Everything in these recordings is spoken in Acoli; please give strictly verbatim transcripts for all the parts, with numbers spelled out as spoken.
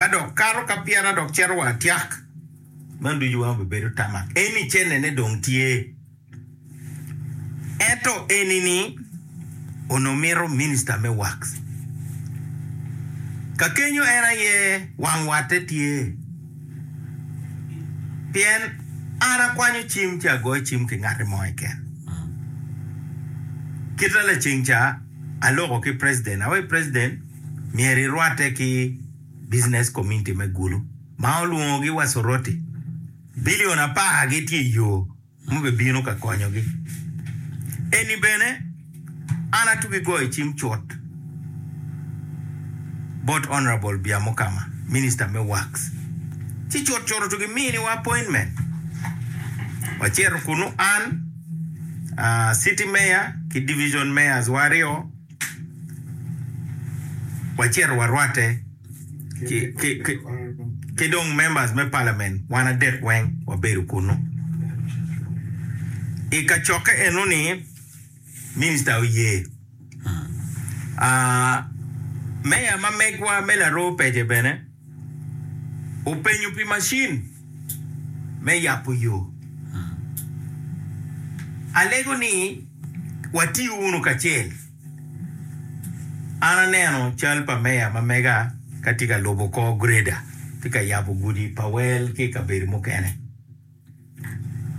Ka dok kato ka pyera dok cito wa atyak, man ducu weng obibedo tamak. Eni cennene dong tye. Ento eni-ni onongo mito minista me Works. Ka kenyo en aye wang watte tye. Pien an akwanyo cim ci agoyo cim ki ngati mo keken. Kita laceng ca aloko ki president, awaci president myero irwatte ki business community me Gulu ma olwongogi wa Soroti. Bilion apar gitye i yo mubibino ka konyogi. Eni bene an atugi goyo cim cut bot Honorable Byamukama, Minister me Works. Ci cut cut otugi miniwa appointment. Wacito kunu an, uh, city mayor ki division mayors wa aryo, wacito warwatte ki, ki, ki, ki dong members me parliament wan adek weng wabedo kunu. I kacokke enoni minister oye. Uh, meya ma megwa me Laroo Pece bene openyo pi machine me yabo yo. Alego ni watiyo wunu kacel. An aneno cal pa meya ma mega ka tye ka lubo kor grader tye ka yabo gudi pa wel ki i kabedo mukene.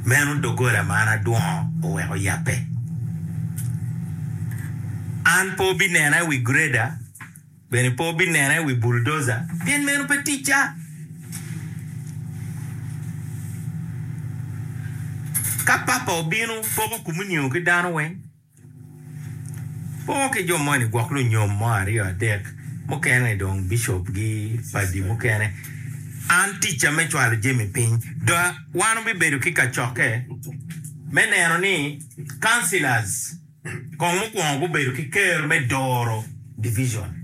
Meno doggola ma an adwongo oweko yabbe. An pe obinena i wi grader, bene pe obinena i wi bulldozer, pien meno pe ticca. Ka papa obino, poko komunio ki dano weng. Poko ki jo moni gwok lunyom mo aryo adek mukene dong bishop gi padi mukene. An ticca me cwalo jami piny. Dok wan obibedo ki kacokke me neno ni councillors kong mukwongo gubedo ki ker me doro division.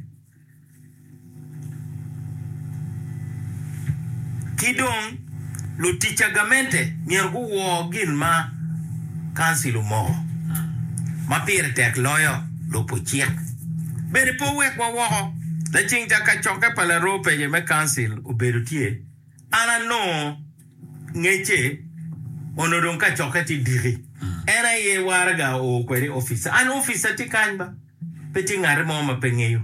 Ki dong, lutic a gamente myero guwor gin ma kancil omoko. Ma pire tek loyo, lubo cik. Bene pe owekwa woko. Laceng ca kacokke pa laroo pece me kancil obedo tye, an anongo ngecce onongo dong kacokke tye diki. En aye waraga oo kwede i opica. An opica tye kany ba. Pe tye ngati mo ma pe ngeyo.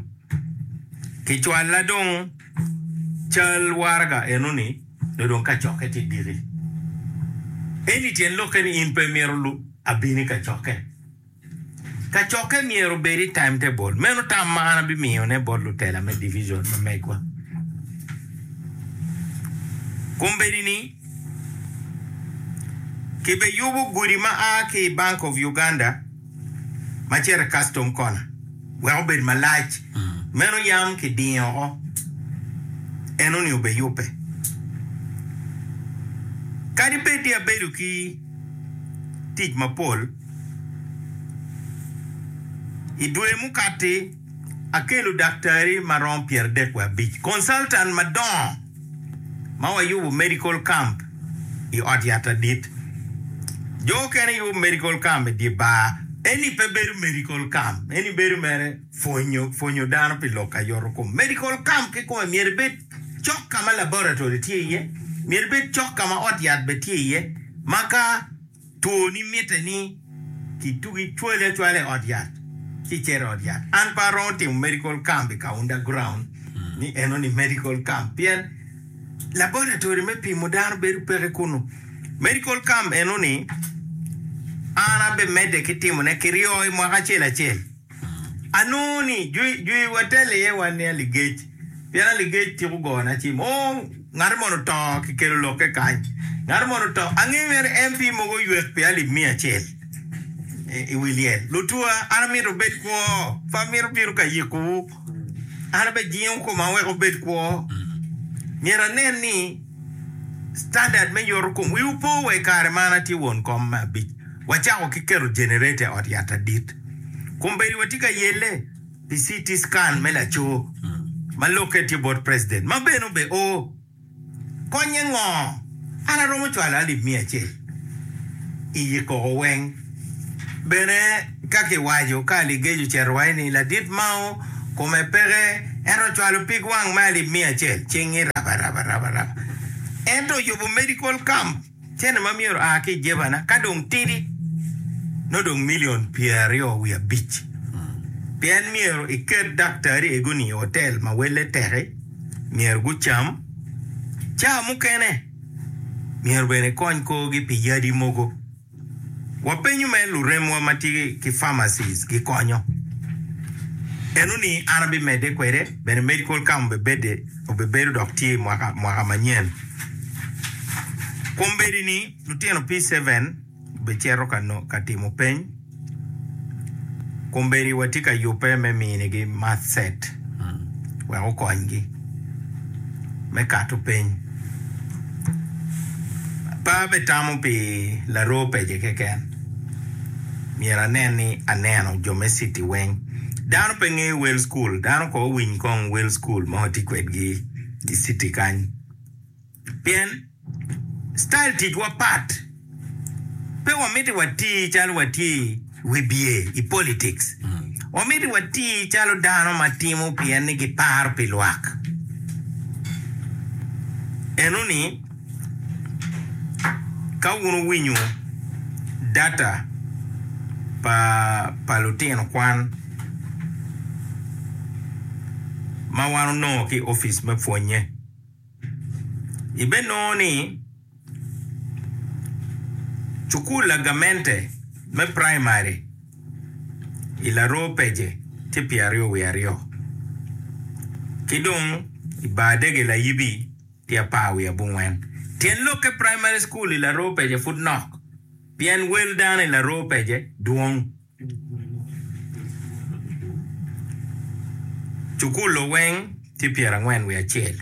Kicwalla dong cal waraga eno-ni nyo dong kacokke tye diki. Eni tyen lokke ni in pe imito abin i kacokke. Kacokke myero obed i timetable. Meno tam ma an abimiyone bot lutela me division ma megwa. Kombeddi-ni, kibeyubo gudi ma a ki i Bank of Uganda ma cito i Custom Corner wek obed malac. Meno yam kidingo oko, enoni obeyubbe. Kadi bed ni abedo ki tic mapol, i dwe mukati akelo daktari ma romo pyeradek wiye abic, consultant madongo ma wayubo medical camp i ot yat adit. Jo okene yubo medical camp i dye bar, eni pe bedo medical camp, eni bedo mere pwonyo pwonyo dano pi lok ayoto kom. Medical camp kikome myero ibed cok ka ma laboratory tye iye, myero ibed cok ka ma ot yat bene tye iye, ma ka twoni mitte ni kitugi cwali acwala i ot yat ci icito i ot yat. An pe aromo timo medical camp i Kaunda ground ni eno ni medical camp pien laboratory me pimo dano bedo peke kunu. Medical camp eno ni an abimedde ki timone kiryo i mwaka acel acel. Anongo ni jwi watelo iye wan ni aligec, pien aligec tiko gona cim. Oo, ngat mono oto kikelo lokke kany, ngat mono oto. Angeyo mere M P mogo oywek pi alip miya acel i wi lyel. Lutua, an amito wubed kwo, pe amito bino ka yikowu. An abejingo koma wek wubed kwo. Myero anen ni standard me yoto kom. Wiwu po wa i kare ma an atye won kom me abic, wacako ki keto generator i ot yat adit. Kombeddi watye ka yelle pi C T scan me laco ma lokke tye bot president ma bene obe o. Konye ngo? An aromo cwalo alip miya acel i yi koko weng. Bene ka kiwaco ka aligeco ocito waci ni ladit Mao kome peke Ento ocwalo pig wang me alip miya acel, cingi raba raba raba raba. Ento oyubo medical camp, cente ma myero oa ki i jebana ka dong tidi nongo dong million pyeraryo wiye abic. Pien myero iket daktari ego-ni i hotel ma welle teki, myero gucam. Ca mukene myero bene ikony korgi pi yadi mogo. Wapenyo mere luremwa ma tye ki pharmacies gikonyo. Eno ni an abimedde kwede bene medical camp obibedde obibedo dok tye i mwaka mwaka manyen. Kombeddi ni lutino P seven obicito ka no ka timo peny. Kombeddi watye ka yubbe me minigi math set wek okonygi me kato peny. Pe abitamo pi laroo pece keken. Myero anen ni aneno jo me city weng. Dano pe ngeyo wel school. Dano ko owiny kong wel school ma watye kwedgi i city kany. Pien style ticwa pat. Pe wamiti wati calo watye i wibye i politics. Wamiti wati calo dano ma timo pien ni giparo pi lwak. Enoni ka wun wuwinyo data pa pa lutino kwan ma wan onongo ki i opic me pwonye, ibenongo ni Cukul lagamente me praimari i Laroo Pece tye pyeraryo wiye aryo, ki dong i Bar Dege Layibi tye apar wiye abongwen. Tyen lokke praimari cukul i Laroo Pece pud nok pien wel dano i Laroo Pece dwong. Cukul-lu weng tye pyerangwen wiye acel.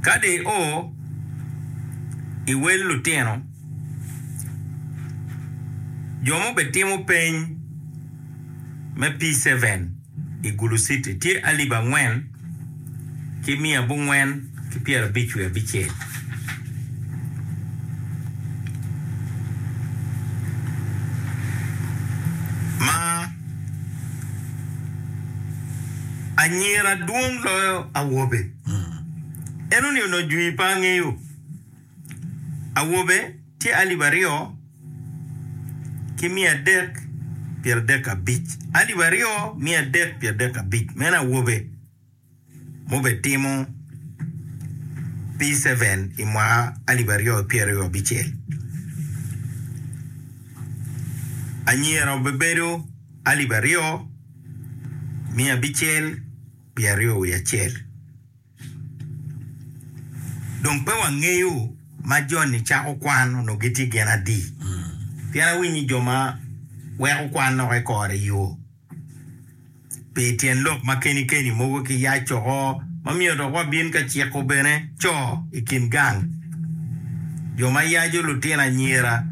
Ka dong io i wel lutino, jo ma obitimo peny me P seven i Gulu City tye alip angwen ki miya abongwen ki pyerabic wiye abicel. Ma anyira dwong loyo awobe. Enoni onongo jwi pe angeyo. Awobe tye alip aryo ki miya adek pyeradek abic. Alip aryo miya adek pyeradek abic meno awobe. Mubitimo P seven i mwaka alip aryo ki pyeraryo abicel. Anyira obibedo alip aryo miya abicel pyeraryo wiye acel. Dong pe wangeyo ma joni cako kwan onongo gitye gin adi. Pien awinyo ni jo ma weko kwan dok i kore yo. Pi tyen lok ma keni keni mogo ki yac oko ma myero dok wabin ka ciko bene co i kin gang jo ma yaco lutino anyira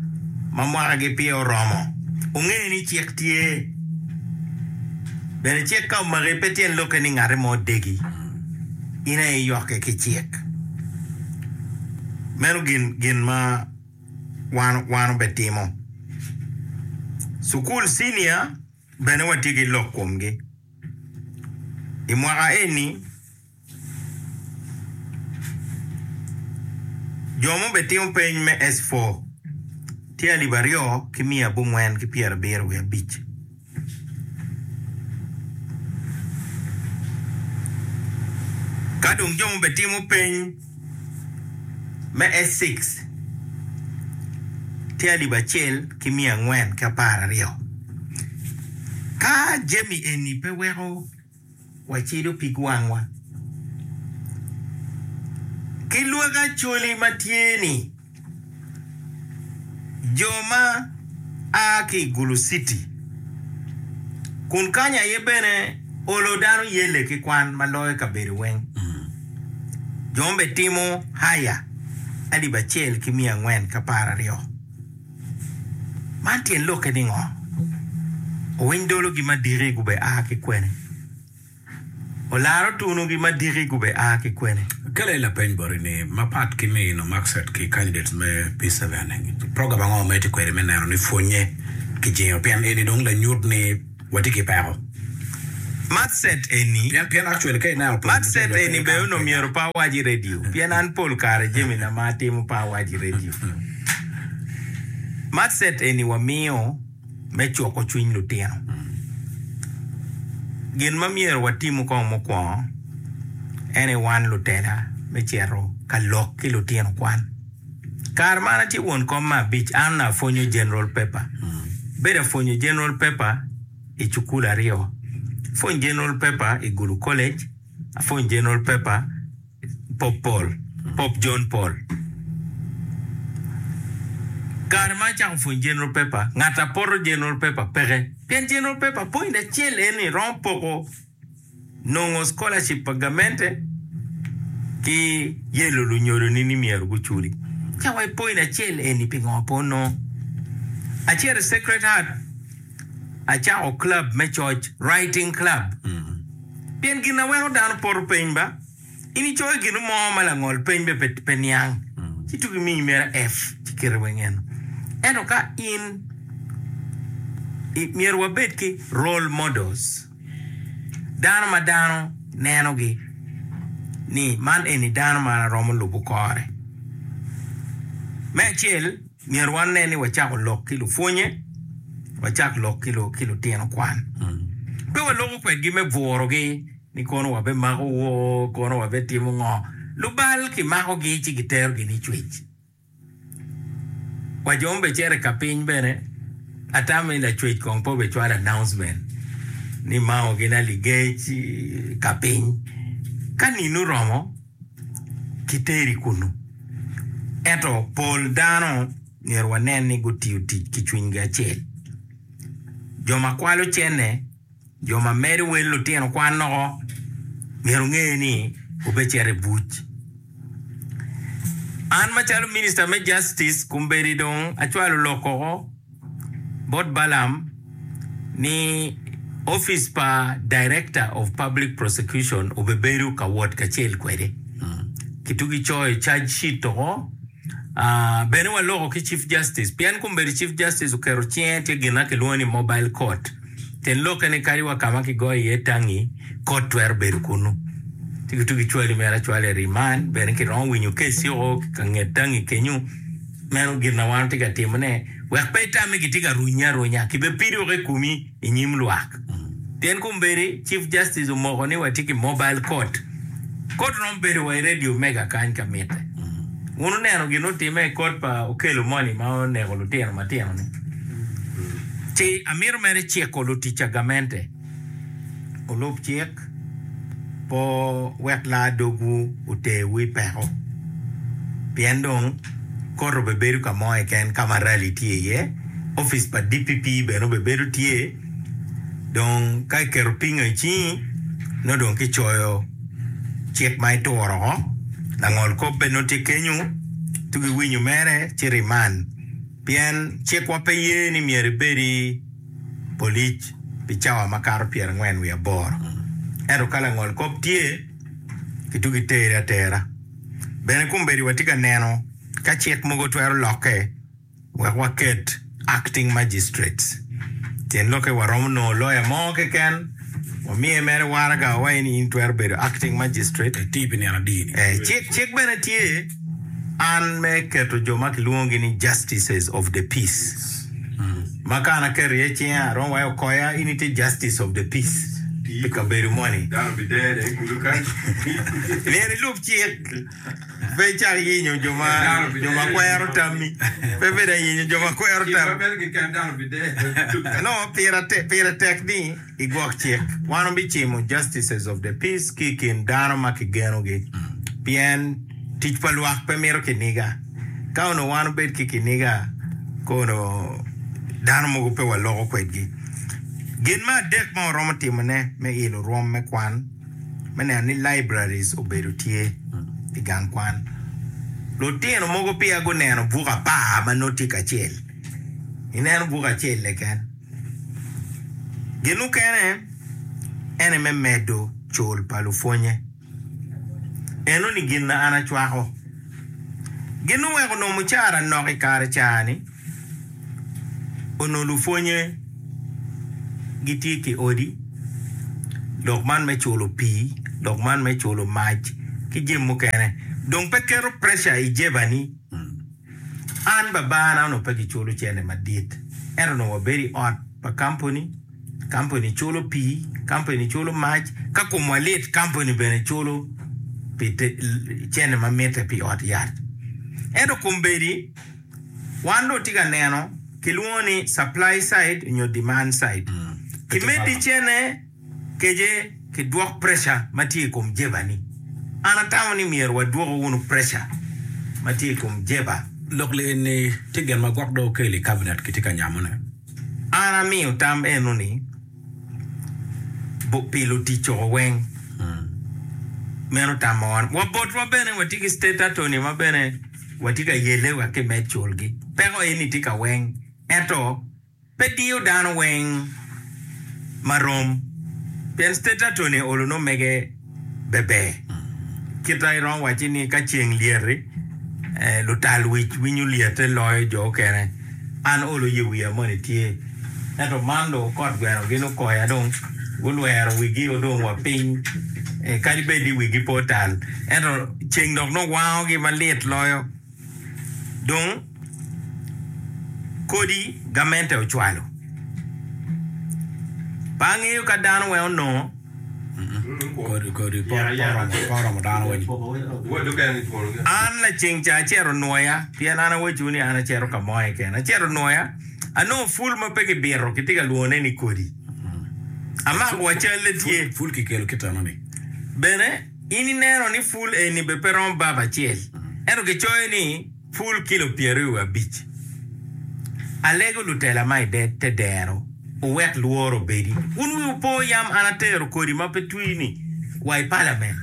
ma mwakagi peya oromo onge ni cik tye bene cik ka omaki pe tyen lokke ni ngati mo degi in aye iyokke ki cik meno gin gin ma wan wan obetimo cukul cinia Bene watye ki lok komgi. I mwaka eni, jo ma obetimo peny me S four tye alip aryo ki miya abongwen ki pyerabiro wiye abic. Ka dong jo ma obetimo peny me S six tye alip acel ki miya angwen ki apar aryo. Ka jami eni pe weko wacido pig wangwa ki lwak acholi ma tye ni, Jo ma a ki i Gulu City, kun kany aye bene olo dano yelle ki kwan ma loyo kabedo weng. Jo ma betimo haya alip acel ki miya angwen ki apar aryo. Man tyen lokke ni ngo? Owiny dologi madiki gube a ki kwene? Olaro tunugi ma diki gube a ki kwene? Kele lapeny boti ni, mapat ki mino Maxet ki candidates me P seven, program ango ma itye kwede me neno ni pwonye ki jingo pien eni dong lanyut ni watye ki peko? Math set eni Pien pien actually ka ineno pol Math set lutino pe eni bene gikamo onongo pe myero pe awac i radio pien an pol kare jamina ma atimo pe awac i radio. Math set eni wamiyo me cuko cwiny lutino. Gin ma myero watimo kong mukwongo en aye wan lutela me cito ka lok ki lutino kwan. Kare ma an atye won kom me abic an onongo apwonyo general paper. Bedo apwonyo general paper i cukul aryo. Apwonyo general paper i Gulu College, apwonyo general paper Pope Paul, Pope John Paul. Kare ma acako pwonyo general paper, ngat apoto general paper peke. Pien general paper point acel eni romo poko nongo scholarship pa gamente ki yelo lunyodoni ni myero guculi. Ca wa i point acel eni pingo pe onongo. Acito i Sacred Heart, acako club me coc, writing club. Pien gin na weko dano poto peny ba, in icoyo gin mo ma langol peny be pe niang, ci tuki miyi mere F ci kite weng eno. Ento ka in myero wabed ki role models, dano ma dano nenogi ni man eni dano ma romo lubo kore. Me acel, myero wane ni wacako lok ki lupwonye, wacak lok ki lutino kwan. Pe waloko kwedgi me bwurogi ni kono wabemako wo, kono wabetimo ngo. Lubal kimakogi ci giterogi ni cwec. Wa jo ma cito i ka piny bene, atamo ni lacwec kong pe obecwalo announcement ni mako gin aligec ka piny. Ka nino oromo, kiteri kunu. Ento pol dano myero wanen ni gutiyo tic ki cwinygi acel. Jo ma kwalo cene, jo ma medo wel lutino kwan noko, myero onge ni obecito i buc. An macalo Minister me Justice kombeddi dong acwalo lok oko bot Balaam ni office pa Director of Public Prosecution obebedo ka wot kacel kwede. Kitugi coyo charge sheet oko. Uh, bene waloko ki Chief Justice pien kombeddi Chief Justice oketo cinge tye gin ma kilwongo ni mobile court. Tyen lokke ni kadi wa ka ma kigoyo iye tangi, court twero bedo kunu. Ci kitugi cwali mere acwala i remand, bene kiromo winyo case oko ka nget tangi kenyu. Meno gin na wan watye ka timone wek pe itame kitye ka runyi arunya, kibepido woko i komi i nyim lwak. Pien kombeddi Chief Justice omoko ni watye ki mobile court. Court romo bedo wa i Radio Mega kany ka mitte. Wun oneno gin otime i court pa Okello moni ma oneko lutino matino ni. Ci amito mere ciko lutic a gamente olub cik po wek laa dogwu oterwu i peko. Pien dong court obebedo ka mo keken ka ma rally tye iye, office pa D P P bene obebedo tye. Dong ka iketo pingo i cingi, nongo dong kicoyo cik ma ituro oko. Langol kop bene nongo tye kenyu, tugi winyo mere ci remand. Pien cikwa pe ye ni myero ibed i polic pi cawa makato pyerangwen wiye aboro. Ento ka langol kop tye, kitugi tere atera. Bene kombeddi watye ka neno ka cik mogo twero lokke wek waket acting magistrates. Tyen lokke waromo nongo lawyer mo keken, wamiye mere waraga wa in in twero bedo acting magistrate. Eti pi nino adi ni. Eh, cik, cik bene tye an me keto jo ma kilwongogi ni justices of the peace. Ma ka an aketo iye cinga aromo wayo okoya in itye justice of the peace pi kabedo moni. Dano bidere i kulu kany. Myero ilub cik pe icak yenyo jo ma jo ma kwero tammi. Pe bed ayenyo jo ma kwero Cik tammi. maber keken dano bidere. No, pire tek, pire tek ni igwok cik. Wan obicimo justices of the peace ki i kin dano ma kigenogi. Pien tic pa lwak pe mito kiniga. Ka onongo wan obed ki kiniga, kono dano mogo pe waloko kwedgi. Gin me adek ma waromo timone me ilo rwom me kwan, me neno ni libraries obedo tye i gang kwan. Lutino mogo peya guneno buk apar ma nongo tye kacel. Ineno buk acel keken. Gin mukene ene me medo cul pa lupwonye. Eno ni gin na an acwako. Gin oweko onongo mucara nok i kare ca-ni, onongo lupwonye gitye ki odi, Lok man me culo pii, lok man me culo mac ki jami mukene dong pe keto pressure i jebani. An babana onongo pe giculo cente madit ento onongo wabedo i ot pa kampuni, kampuni culo pii, kampuni culo mac, ka komwa lit kampuni bene culo pi cente ma mitte pi ot yat. Ento kombeddi wan dong watye ka neno kilwongo ni supply side nyo demand side. Kimeddi cene kece kidwok pressure ma tye i kom jeba-ni. An atamo ni myero wadwoku wunu pressure ma tye i kom jeba. Lok li eni tye gin ma gwok dong okelo i cabinet kitye ka nyamone. An amiyo tam eno ni pi lutic coko weng. Meno tam ma wan wa botwa bene watye ki state attorney ma bene watye ka yelle wek kimed culgi. Peko eni tye ka weng ento pe diyo dano weng marom pien state attorney olo nongo mege beber. Kita iromo wacci ni ka ceng lyet-ti lutal wic winyo lyette loyo jo okene. An olo ye wiya moni tye ento man dong okot gweno gin okoya dong gulwero wigi dong wa piny kadi bed ni wigi pe otal ento ceng dok nongo wangogi malit loyo. Dong kodi gamente ocwalo. Pe angeyo ka dano weng onongo. Kodi pe oromo dano weng. An laceng ca acito nwoya pien an awacciwu ni an acito ka mo keken. Acito nwoya anongo pul ma pe kibito kitye ka lwongone ni kodi. Amako wa calle tye. Pul kikelo ki teno-ni. Bene in ineno ni pul eni bene pe romo bab acel ento kicoyo ni pul kilo pyeraryo wiye abic. Alego lutela ma i te dero wuwek lworo obedi. Wun wiwu po yam an atero kodi ma pe twi-ni wa i palament.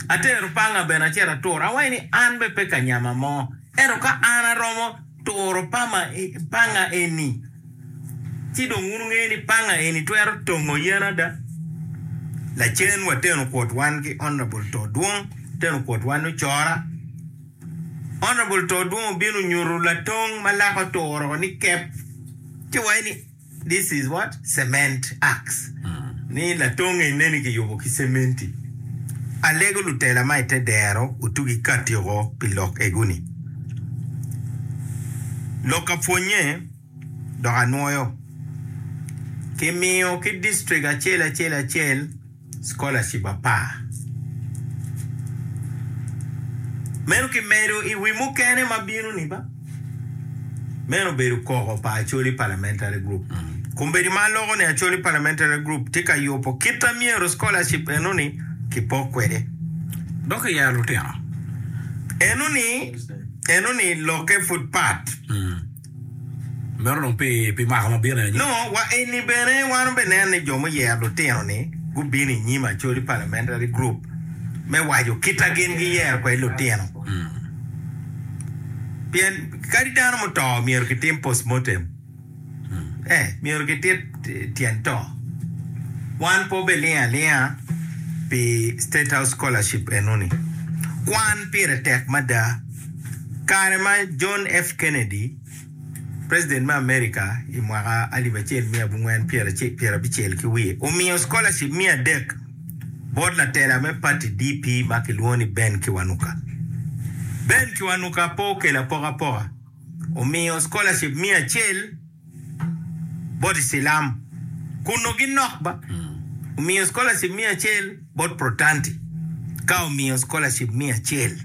Atero panga bene acito aturo. Awaco ni an bene pe ka nyama mo ento ka an aromo turo panga eni ci dong wun wungeyo ni panga eni twero tongo yen ada. Lacen wateno kwot wan ki Honourable Todwong, wateno kwot wan ocora. Honourable Todwong obino onyuto latong ma lake oturo ni kep ci waco ni this is what cement axe ni latong eni kiyubo ki cementi. Alego lutela ma i te dero otugi kati oko pi lok ego-ni. Lok ka pwonye dok anwoyo kimiyo ki distrik acel acel acel scholarship apar. Meno kimedo i wi mukene ma bino-ni ba. Meno obedo koko pa Acholi Parliamentary Group. Kombeddi ma aloko ni Acholi Parliamentary Group tye ka yubo kit ma myero scholarship eno-ni kipok kwede. Dok iyero lutino. Eno-ni, eno-ni lokke pud pat. Meno dong pi pi mwaka ma bino anyim. No, wa eni bene wan obeneno ni jo muyero lutino-ni gubino i nyim Acholi Parliamentary Group me waco kit ma gin giyero kwede lutino. Pien kadi dano muto myero kitim postmortem. Eh, myero kitit tyen to. Wan pe obelingo alinga pi State House Scholarship enoni. Kwan pire tek mada. Kare ma John F. Kennedy, President me America i mwaka alip acel miya abongwen pyerabicel ki wiye, omiyo scholarship miya adek bot latela me party D P ma kilwongo ni Ben Kiwanuka. Ben Kiwanuka pe okelo apokapoka, omiyo scholarship miya acel bot Icilam kun nongo ginok ba, omiyo scholarship miya acel bot Protanti ka omiyo scholarship miya acel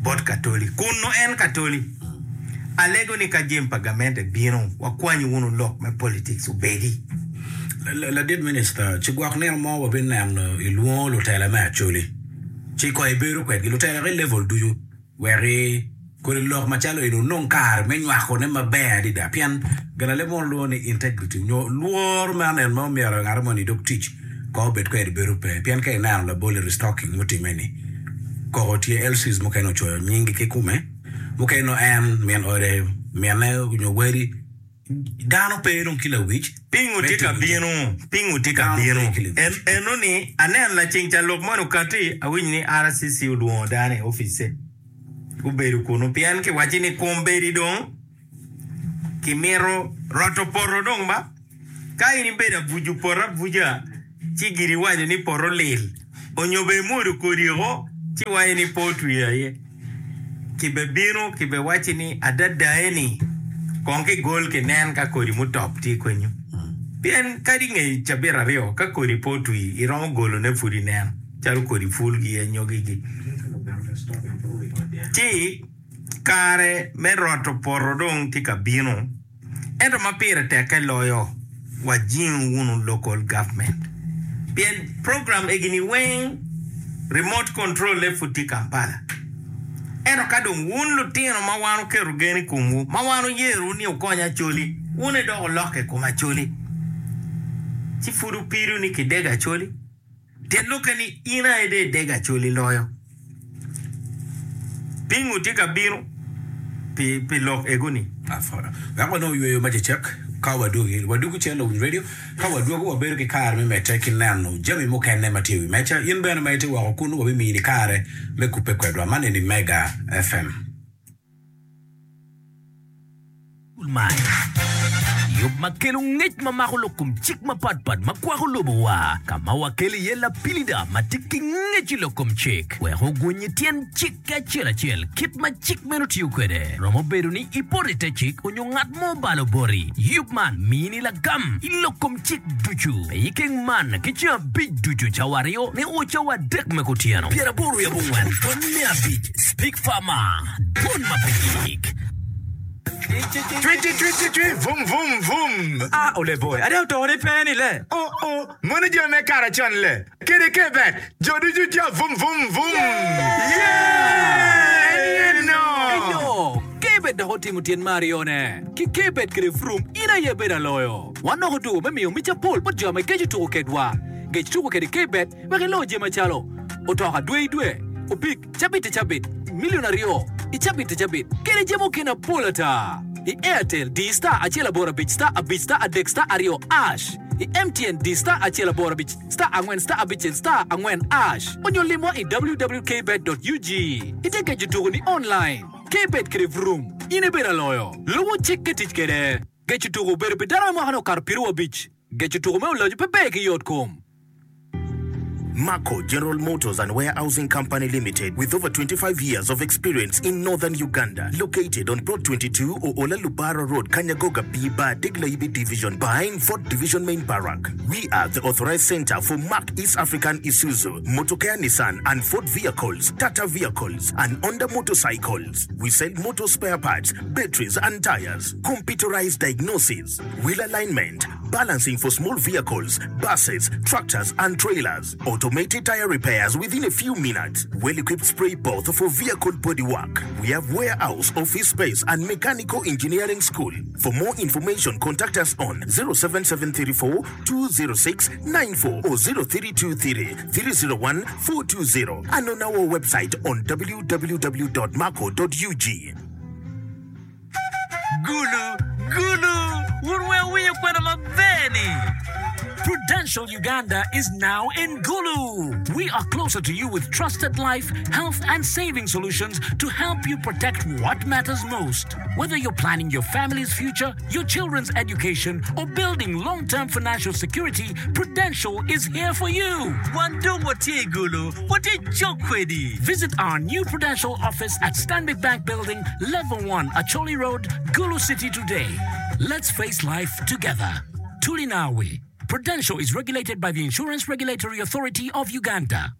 bot Katoli kun nongo en Katoli. Alego ni ka jami pa gamente bino, wakwanyu wunu lok me politics obedi. Ladit Minista, ci gwok nino mo wabineno ilwongo lutela me Acholi ci kong ibedo kwedgi, lutela ki level ducu wek kodi lok macalo eni onong kare me nywakone maber adada pien gin aleb mo lwongo ni integrity nyo lworo me aneno ma omyero ngat moni idog tic kong obed kwede bedo pe pien ka ineno labol i restocking mutimme ni koko tye L Cs mukene ocoyo nyinggi kikume mukene no en min ode mine nyo wadi dano pe dong ki lawic Pingo tye ka bino, pingo tye ka bino. Eno ni aneno laceng ca lok moni okati awinyo ni R C C olwongo dano i opice gubedo kunu pien kiwacci ni kombeddi dong kimito roto poto dong ba ka in ibedo abuco poto abuca ci giri waco ni poto lil. Onyo be imwodo kodi oko ci waco ni pe otwi aye. Kibebino kibewaci ni adada eni kong kigol kinen ka kodi mutop tye kwenyo. Pien kadi nge cabit aryo ka kodi pe otwi iromo golone pud inen calo kodi pulgi anyogigi. Ci kare me roto poto dong tye ka bino. Ento ma pire tekke loyo wajingo wunu local government. Pien program egini weng remote control le pud tye Kampala. Ento ka dong wun lutino ma wan oketo gen i komwu, ma wan oyerowu ni wukony Acholi, wun aye dok wulokke i kom Acholi. Ci pud wupido ni kidego Acholi. Tyen lokke ni in aye dong idego Acholi loyo. Pingo tye ka bino pi, pi lok ego-ni? Wek wanong yweyo ma cecek ka wadwogi. Wadwogo cen lawiny radio. Ka wadwogo wabedo ki kare me medde ki neno jami mukene ma tye i wi meja. In bene ma itye woko kunu wabimini kare me kubbe kwedwa. Man eni Mega F M. Yub ma kelo ngec ma mako lok kom cik mapatpat ma kwako lobowa, ka ma wakelo iye lapilida ma tye ki ngec i lok kom cik wek ogwony tyen cik ki acel acel kit ma cik meno tiyo kwede. Romo bedo ni ipoto i te cik onyo ngat mo obalo boti. Yub man mini lagam i lok kom cik ducu. Pe ikeng man ki ceng abic ducu cawa aryo nio cawa adek me kutyeno. Pyeraboro wiye abongwen pwony me abic Speak Farmer, Dwon ma pe gik. Cwi cwi cwi cwi cwi vum vum vum. Ah, ole boy, ade oto ni pe ni le. Oh oh, mono jo me kara con le. Kede ke bet, jo ducu jo vum vum vum. Yeah! En no. Eyo, kebet dok otimo tyen me aryone. Ki kebet kede vroom, in aye bedo aloyo. Wan dok odugo me miyo mic apol bot jo ma geco tuko kedwa. Gec tuko kede kebet wek ilo jami macalo otoka dwe i dwe, opik cabit i cabit, milion aryo i cabit i cabit, kede jami mukene apol ata. I Airtel, di star acel aboro abic star abic star adek star aryo ash. I M T N, di star acel aboro abic star angwen star abicel star angwen ash. Onyo limwa i w w w dot k bet dot u g. Ite geco tuko ni online. Kbet kede vroom, in ibedo aloyo. Lubo cik ki tic kede. Geco tuko obedo pi dano me mwaka ni okato pyeraryo abic. Geco tuko me oloco pe ber ki yot kom. Marco General Motors and Warehousing Company Limited, with over twenty-five years of experience in northern Uganda, located on Plot twenty-two Oola Lubara Road, Kanyagoga B Bar, Degla Division, behind Fort Division Main Barrack. We are the authorized center for Mark East African Isuzu, Motocare Nissan and Ford vehicles, Tata vehicles, and Honda motorcycles. We sell motor spare parts, batteries and tires, computerized diagnosis, wheel alignment, balancing for small vehicles, buses, tractors and trailers, automated tire repairs within a few minutes, well-equipped spray booth for vehicle bodywork. We have warehouse, office space and mechanical engineering school. For more information, contact us on zero seven seven three four two zero six nine four or zero three two three three zero one four two zero and on our website on w w w dot marco dot u g. Gulu, Gulu, wun weng wuwinyo kwena maber ni. Prudential Uganda is now in Gulu. We are closer to you with trusted life, health, and saving solutions to help you protect what matters most. Whether you're planning your family's future, your children's education, or building long-term financial security, Prudential is here for you. Wan dong watye i Gulu, watye cok kwedi. Visit our new Prudential office at Stanbic Bank Building, Level one, Acholi Road, Gulu City today. Let's face life together. Tulinawi. Prudential is regulated by the Insurance Regulatory Authority of Uganda.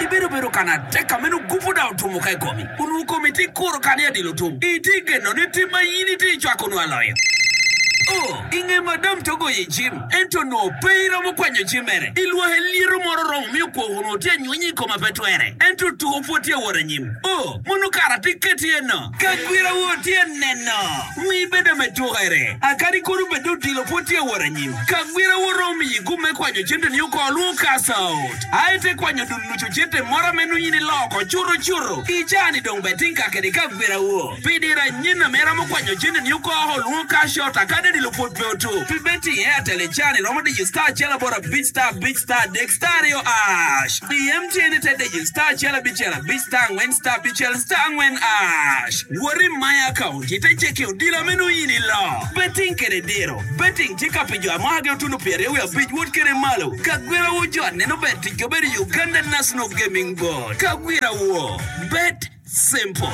Ibedo bedo kan atek ka meno gupu da otumo ka i komi. Onongo komi tye kuro kan i adilo tum. Itye geno ni tim ma in itye cwako onongo aloyo. Oh, i nge madam to goyo i cim, ento onongo pe iromo kwanyo cim mere. I lwahe lyeto moro oromo miyo kwok onongo tye anywenya i koma pe twere. Ento tuko pwod tye awot anyim. Oh, mono kara tye keti eno. Ka gwira wo tye neno. Mi bedo me tukere. Akadi kono bed odilo pwod tye awot anyim. Ka gwira wo romo miyi gum me kwanyo cente ni oko lwongo cash out. Aye te kwanyo dul nucu cente moro me nonyi ni loko curo curo. I caa ni dong bed tinka kede ka gwira wo. Pi diro anyina me romo kwanyo cente ni oko lwongo cash out akadi odilo pwod pe otum. Pi betting i Airtel i caa-ni romo diyo star acel aboro abic star abic star adek star aryo ash. I M T N ite diyo star acel abicel abic star angwen star abicel star angwen ash. Wot i My Account ite cekki odilo meno in ilo. Betting kede diro. Betting tye ka pi jo a mwakagi otuno pyeraryo wiye abic wot kede malo. Kagwira wu jo aneno ber ticgi obedo Uganda National Gaming Board. Kagwira wu. Bet simple.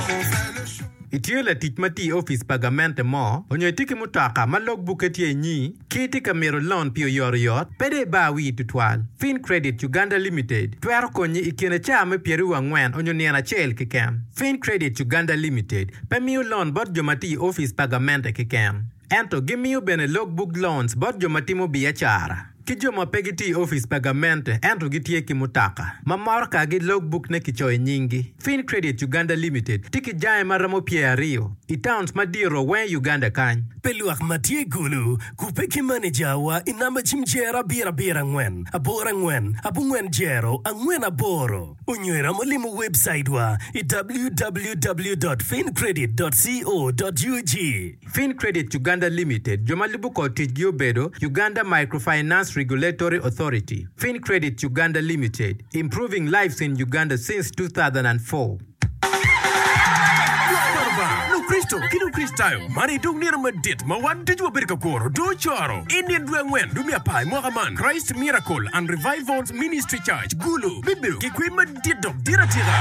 Itye latic ma tye i opic pa gamente mo, onyo itye ki mutoka ma logbukke tye inyi, ki itye ka mito lon pi oyotoyot, pe dong ibar wii tutwal. Fincredit Uganda Limited twero konyi i kine caa me pyeraryo angwen onyo nino acel keken. Fincredit Uganda Limited pe miyo lon bot jo ma tye i opic pa gamente keken, ento gimiyo bene logbook loans bot jo ma timo biacara ki jo ma pe gitye i opic pa gamente ento gitye ki mutoka ma motokagi logbook-ne kicoyo i nyinggi. Fincredit Uganda Limited tye ki jange ma romo pyeraryo i towns madito weng i Uganda kany. Pi lwak ma tye i Gulu, kubbe ki manejawa i namba cim jero abiro abiro angwen aboro angwen abongwen jero angwen aboro onyo iromo limo webcaitwa i W W W dot fincredit dot co dot U G. Fincredit Uganda Limited jo ma lubo kor ticgi obedo Uganda Microfinance Regulatory Authority. Fincredit Uganda Limited, improving lives in Uganda since two thousand four. Lwak pa Lubanga, Lukricito ki Lukricitayo, man aye dong nino madit ma wan ducu wabedo ka kuro dong ocoro. I nino dwe angwen dwe me apar i mwaka man, Christ Miracle and Revivals Ministry Church, Gulu, bibedo ki kwer madit dok dit atika.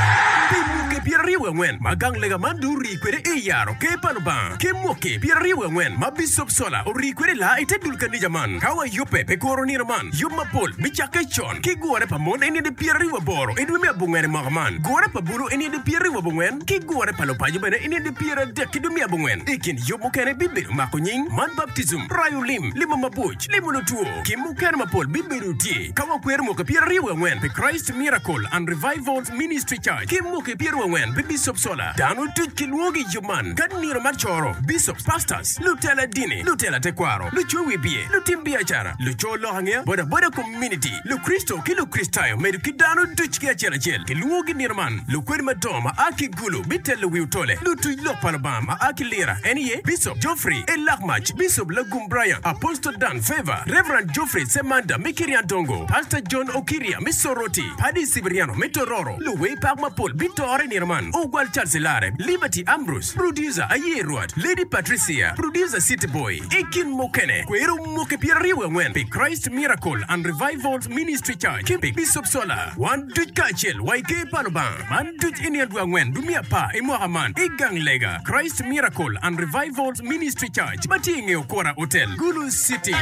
Pi mwaki pyeraryo wiye angwen ma gang lega man dong orii kwede i yaro Ker pa Lubanga, ki mwaki pyeraryo wiye angwen ma Bicop Sola orii kwede i laa i te dul kanija man. Ka wayubbe pi kuro nino man, yub mapol bicakke con ki gure pa mon i nino pyeraryo aboro i dwe me abongwen i mwaka man, gure pa bulu i nino pyeraryo abongwen, ki gure pa lupaco bene i nino pyeradek ki dwe me abongwen. I kin yub mukene bibedo mako nying, man baptijim, rayo lim, limo mabuc, limo lutwo, ki mukene mapol bibedo tye. Ka wakwero mwaki pyeraryo wiye angwen pi Christ Miracle and Revivals Ministry Church ki mwaki pyeraryo angwen pi Bicop Sola, dano duc kilwongogi i yub man ka nino mar coro, bishops, pastors, lutela dini, lutela tekwaro, luco wibye, lutim biacara, luco lok angeya, bodaboda community, Lukricito ki Lukricitayo medo ki dano duc ki acel acel kilwongogi nino man. Lukwed madongo ma a ki Gulu bitelo wi otole, lutuc lok pa Lubanga ma a ki Lira en aye Bicop Geoffrey Elakmac, Bicop Lagum Brian, Apostle Dan Favor, Reverend Geoffrey Semanda me Kiryandongo, Pastor John Okiria me Soroti, Paddy Cibriano me Tororo. Luwer pak mapol bitore i nino man, Ogwal Charles Ilare, Liberty Ambrose, Producer Aye Rwot, Lady Patricia, Producer City Boy, i kin mukene. Kwero mwaki pyeraryo wiye angwen pi Christ Miracle and Revivals Ministry Church ki pi Bicop Sola. Wan duc kacel wa i Ker pa Lubanga. Man duc i nino dwe angwen dwe me apar i mwaka man i gang lega Christ Miracle and Revivals Ministry Church ma tye i nge Okora Hotel, Gulu City.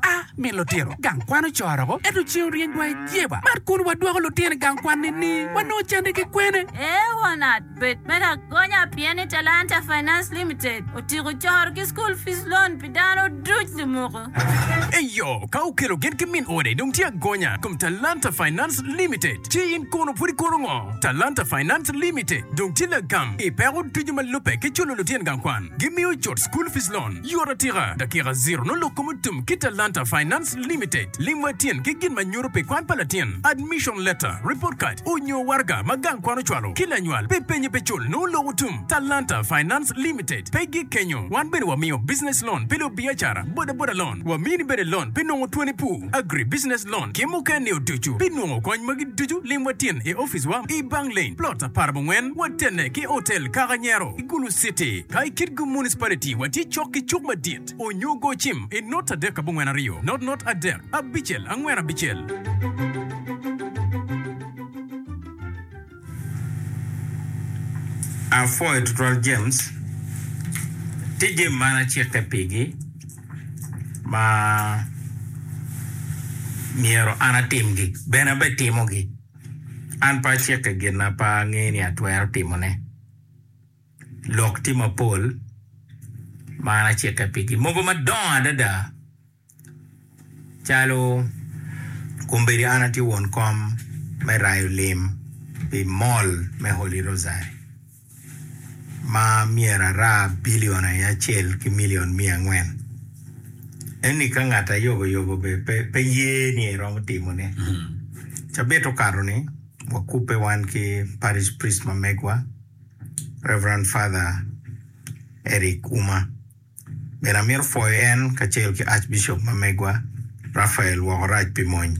A Min lutino gang kwan ocoro ko, ento ceng oryeny wa i jeba. Mat kun wadwoko lutino i gang kwan nining? Wanongo cente ki kwene? Ee won at, bed me lagonya pien ni Talanta Finance Limited otiko coro ki school fees loan pi dano duc lumuku. Eyo, ka okelo gin ki min ode dong tye agonya kom Talanta Finance Limited, ci in kono pud ikuro ngo? Talanta Finance Limited dong tye lagam i peko ducu ma lubbe ki culo lutino gang kwan. Gimiyo cut school fees loan yot atika, dakika zero nongo lok kom otum ki Talanta Finance Limited. Lim wa tyen ki gin ma nyuto pi kwan pa latin, admission letter, report card, onyo waraga ma gang kwan ocwalo ki lanywal pi penye pi cul nongo lok otum. Talanta Finance Limited pe gik kenyo. Wan bene wamiyo business loan pi lubiacara, boda boda loan, wamini bene loan pi nongo twoni pur, agri business loan ki mukene oducu. Pi nongo kony magi ducu lim wa tyen i office wa i Bank Lane, plot apar abongwen, watene ki Hotel Kakanyero i Gulu City. Ka i Kitgum Municipality watye cok ki cuk madit onyo go cim i not adek abongwen aryo not not adek abicel angwen abicel. Apwoyo tutwal James, tye jami man acikke pigi ma myero an atimgi bene abetimogi. An pe acikke gin ma pe angeyo ni atwero timone. Lok tye mapol ma an acikke pigi mogo madongo adada calo kombeddi an atye won kom me rayo lim pi mall me Holy Rosary ma myero ara bilion acel ki milion miya angwen. Eni ka ngat ayobo yobo bene pe ye ni eromo timone. Cabit okato ni Wakubbe wan ki parish priest ma megwa, Reverend Father Eric Uma. Bene amito pwoyo en kacel ki Archbishop ma megwa, Raphael Wokorac pi mony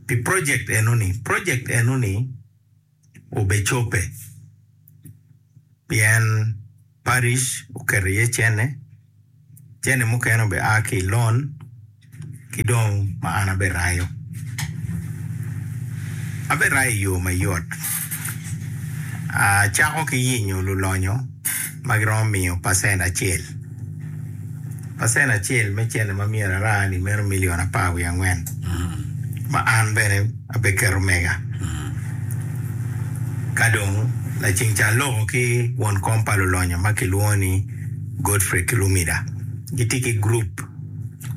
pi project enoni. Project enoni obecope pien parish oketo iye cene, cene mukene obe a ki i loan ki dong ma an aberayo. Aberayo i yo mayot. Acako ki yenyo lulonyo ma giromo miyo pacent acel. Pacent acel me cene ma myero ara-ni meno milion apar wiye angwen ma an bene abeketo mega. Ka dong laceng ca aloko ki won kom pa lulonyo ma kilwongo ni Godfrey Kilumida. Gitye ki gurup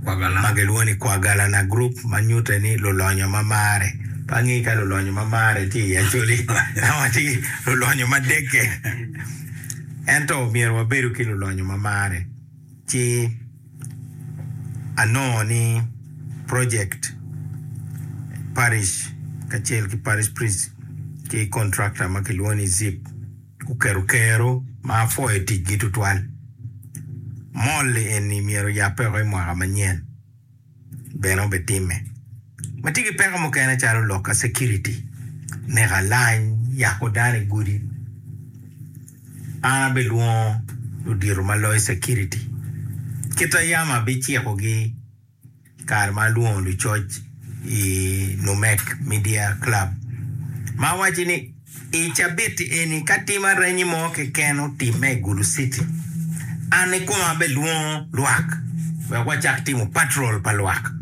ma gilwongo ni Kwagalana Group ma nyute ni lulonyo ma mare. Pe angeyo ka lulonyo ma mare tye i Acholi ama tye lulonyo ma dekke. Ento myero wabedu ki lulonyo ma mare. Ci anongo ni project parish kacel ki parish priest ki contractor ma kilwongo ni Zip oketo kero ma apwoyo ticgi tutwal. Mall eni myero oyabbe woko i mwaka manyen bene obitimme. Watye ki peko mukene calo lok ka security, neko alany, yako dano i gudi. An abilwongo ludito ma loyo security. Kita yam abicikogi kare ma alwongo lucoc i Numek Media Club ma awaco ni i cabit eni ka tim aranyi mo keken otimme i Gulu City, an ikoma abelwongo lwak wek wacak timo patrol pa lwak.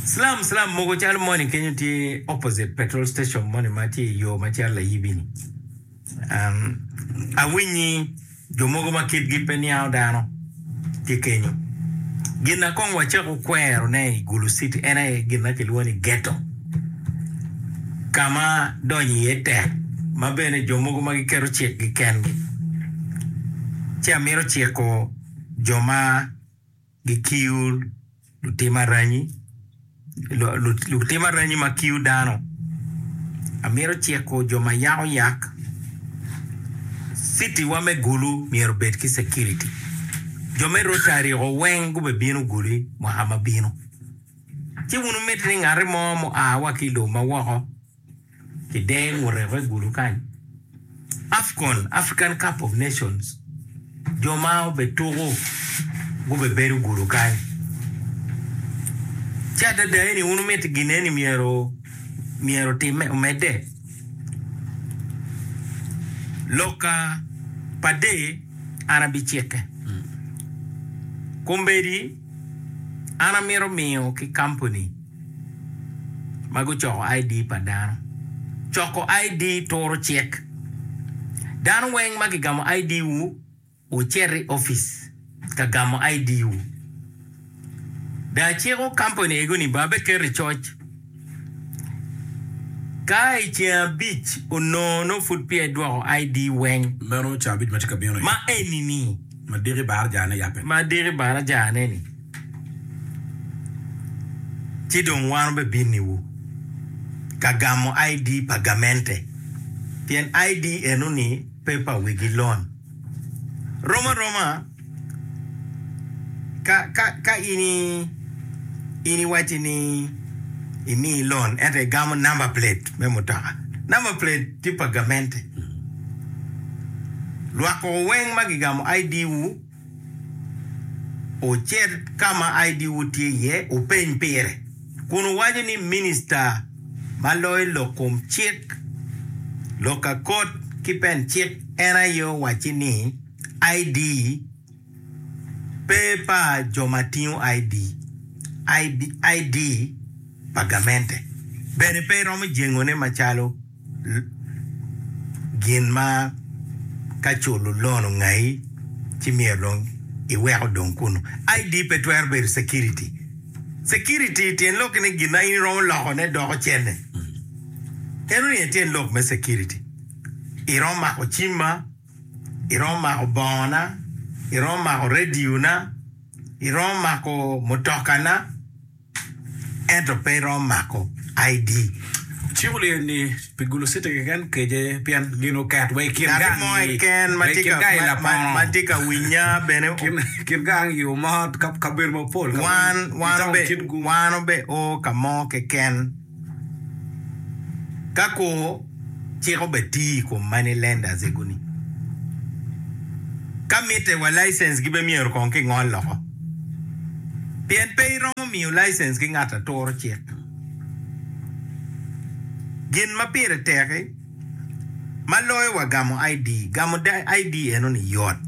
Slum slum mogo calo moni kenyo tye opposite petrol station moni ma tye i yo ma cito Layibi-ni. Um, awinyi jo mogo ma kitgi pe niango dano tye kenyo. Gin na kong wacako kwerone i Gulu City en aye gin ma kilwongo ni ghetto, ka ma donyo iye tek ma bene jo mogo ma giketo cikgi kengi. Ci amito ciko jo ma gikiyo lutim aranyi, lutim aranyi ma kiyo dano. Amito ciko jo ma yako yak. City wa me Gulu myero obed ki security. Jo me Rotary o weng gubebino Gulu mwaka ma bino. Ci wun wumiti ni ngati mo mua wa ki i lobo ma woko kider ngute i Gulu kany. AFCON, African Cup of Nations, jo ma obetuko gubebedo Gulu kany. Ci adada eni wun wumiti gin eni myero myero otimme omedde. Lokka pa dee an abicikke. Kombeddi an amito miyo ki kampuni ma gucoko I D pa dano. Coko I D turo cik. Dano weng ma gigamo I D wu wucit i opic ka gamo I D wu. Dong aciko kampuni ego ni ba beketo i coc. Ka i ceng abic onongo nongo pud peya idwoko I D weng. Meno ceng abic ma tye ka bino-ni. Ma eni-ni. Ma diki barajane yabbe. Ma diki barajane-ni. Ci dong wan obebiniwu ka gamo I D pa gamente. Pien I D eno-ni pe pa wegi loan. Rom aroma ka, ka, ka in i, in iwacci ni imi loan ento igamo number plate me mutoka. Number plate tye pa gamente. Lwak weng ma gigamo I D wu ocit ka ma I D wu tye iye wupeny pire kun wuwaco ni minista ma loyo lok kom cik, lok akot ki pen cik en aye owacci ni I D pe pa jo ma tingo I D, I D pa gamente bene pe romo jengone macalo gin ma ka culo loan ongayi ci myero dong iweko dong kunu. I D pe twero bedo security. Security tyen lok ni gin ma in iromo lokone doko cene. Eno ni tyen lok me security. Iromo mako cimma, iromo mako bongona, iromo mako radio na, iromo mako mutokana, ento pe iromo mako I D. Cik olye ni pi Gulu City keken keje pien gin oket wa i kin Ngat gang mo i keken ma wa i tye kin ka gang i ma, ma, Lapono ma tye ka winya bene kin kin gang i Omot ka kabedo mapol ka wan weng i wan town obe kit gu wan obe o ka mo keken ka kur cik obe tii i kom money lenders ego-ni. Ka mitte wa license gi be myero kong kingol loko. Pien pe iromo miyo license ki ngat aturo cik. Gin ma pire tek-ki ma loyo wa gamo I D, gamo I D eno-ni yot.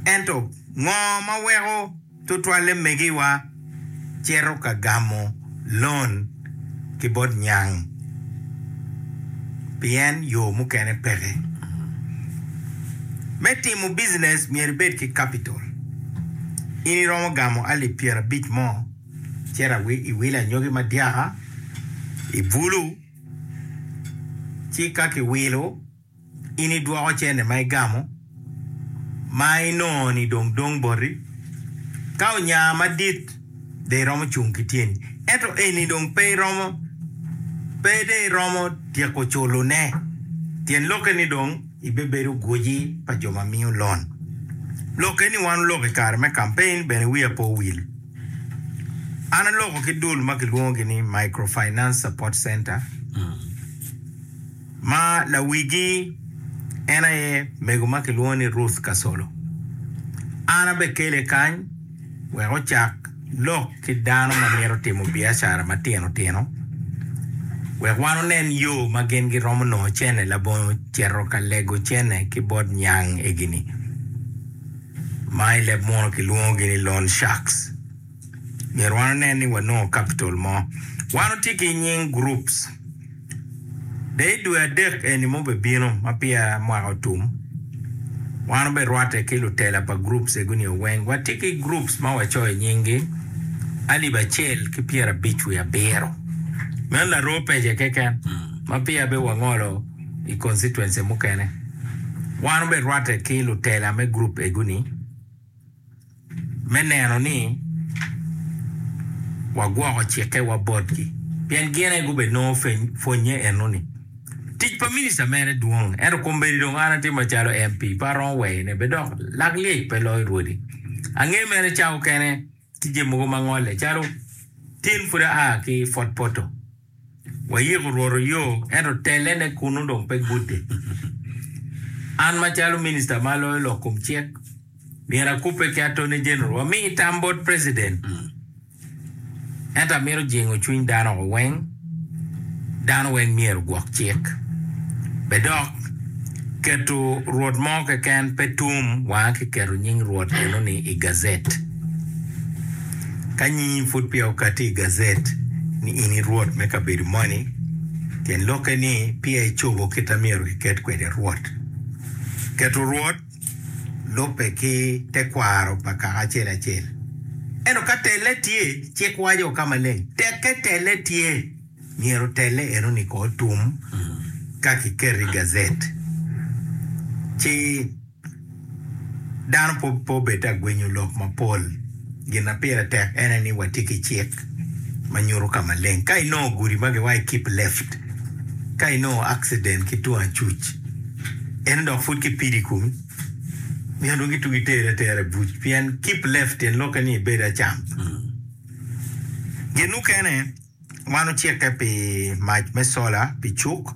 Ento ngo ma weko tutwalle megiwa cito ka gamo loan ki bot nyang pien yo mukene peke. Me timo business myero ibed ki capital. In iromo gamo alip pyerabic mo cito awi iwilo anyogi madyaka i bulu ci ka kiwilo in idwoko cene ma igamo ma inongo ni dong dong boti ka onya madit de iromo cung ki tyeni ento eni dong pe iromo pe de iromo tyeko culone tyen lokke ni dong ibebedo gwoji pa jo ma miyo loan. Lokke ni wan oloko i kare me campaign bene wiya pe owil. An aloko ki dul ma kilwongogi ni Microfinance Support Center ma lawigi en aye mego ma kilwongo ni Ruth Kasolo. An abekele kany wek ocak lok ki dano ma mito timo biacara matino tino wek wan onen yo ma gin giromo nongo cene labongo cito ka lego cene ki bot nyang egini ma i leb muno kilwongogi ni loan sharks. Myero wan onen ni wanongo capital mo. Wan otye ki nying groups. De i dwe adek eni mo bebino ma peya mwaka otum wan oberwatte ki lutela pa groups ego-ni oweng. Watye ki groups ma wacoyo nyinggi alip acel ki pyerabic wiye abiro. Meno laroo pece keken ma peya be wangolo i constituency mukene. Wan oberwatte ki lutela me group ego-ni me neno ni wagwoko cikkewa botgi pien gin aye gube nongo pwonye eno-ni. Tic pa minista mere dwong ento kombeddi dong an atye macalo M P pe aromo weyone be dok lak lyec pe loyo rwodi. Ange mere ca okene tye jami mogo ma ngole calo tin pud aa ki Fort Portal wayiko rwot oyo ento telene kunu dong pe gudde. An macalo minista ma loyo lok kom cik myero akubbe ki Attorney General wami tam bot president ento amito jingo cwiny dano oko weng dano weng myero gwok cik be dok keto rwot mo keken pe tum wanga kiketo nying rwot eno-ni i gazette. Ka nyingi pud peya okati i gazette ni in i rwot me kabedo moni tyen lokke ni peya icobo kit a myero kiket kwede rwot. Keto rwot lubbe ki tekwaro pa kaka acel acel. Ento ka telle tye cik waco ka maleng tekke telle tye myero telle eno-ni ko otum ka kiketo i gazette ci dano pe obed agwenyo lok mapol. Gin na pire tek ene ni watye ki cik ma nyuto ka maleng. Ka inongo gudi ma giwaco keep left ka inongo accident ki tung acuc eno dok pud kipidi i komi myero dong gitugi teri atera i buc pien keep left tyen lokke ni ibed acam. Gin mukene wan ocikke pi mac me sola pi cuk.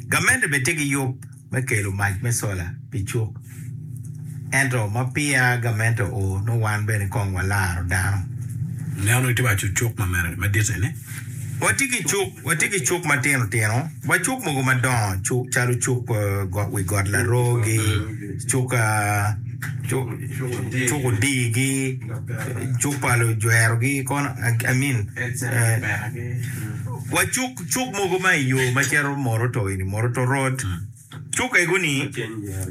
Gamente bene tye ki yub me kelo mac me sola pi cuk. Ento ma peya gamente oo nongo wan bene kong walaro dano. Neno itye waco cuk ma mere madit eni? Watye ki cuk, watye ki cuk matino tino, wa cuk mogo madongo cuk calo cuk uh, wi got Larogi, cuk uh, cuk odigi, cuk pa lujwerogi kono I mean uh, wa cuk cuk mogo ma i yo ma cito Moroto eni Moroto Road. Cuk ego-ni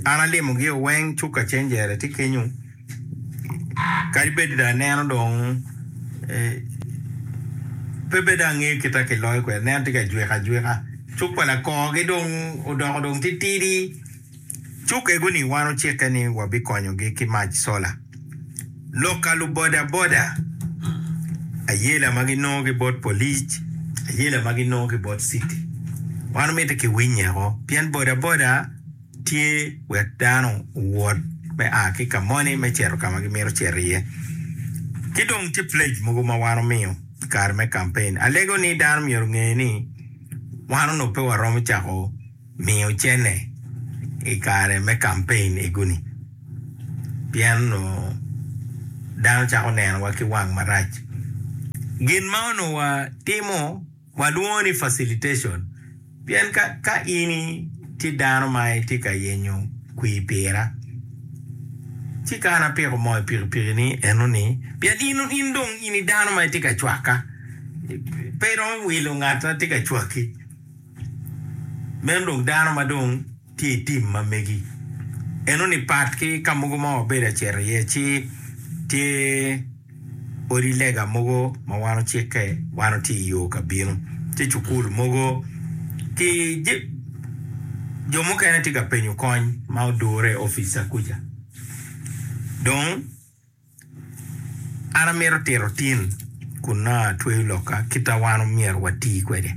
an alimogi oweng cuk Kacenjere tye kenyo kadi bed dong aneno dong eh, pe bed angeyo kit ma kiloyo kwede aneno tye ka jwiko ajwika cuk pa lakorgi dong odoko dong titidi cuk ego-ni wan ocikke ni wabikonyogi ki mac sola lok ka lubodaboda ayela ma ginongo ki bot polic ayela ma ginongo ki bot city Wan omito ki winyeko pien boda boda tye wek dano owot me a ki ka moni me cito ka ma gimito cito iye. Ki dong tye pledge mogo ma wan omiyo i kare me campaign. Alego ni dano myero onge ni wan onongo pe waromo cako miyo cene i kare me campaign egoni pien onongo dano cako nenowa ki wang marac. Gin ma onongo watimo walwongo ni facilitation pien ka, ka in tye dano ma itye ka yenyo kwir pira ci ka an apiko moo i pikipiki ni eno ni pien in, in dong in i dano ma itye ka cwaka pe iromo wilo ngat ma tye ka cwaki meno dong dano ma dong tye i tim ma megi eno ni pat ki ka mogo ma wabedo acito iye ci tye odi lega mogo ma wan ocikke wan otye i yo ka bino tye cukul mogo ki jo mukene tye ka penyo kony ma odure i opica kuca dong an amito tito tin kun nongo atweyo lokka kita wan omyero wati kwede.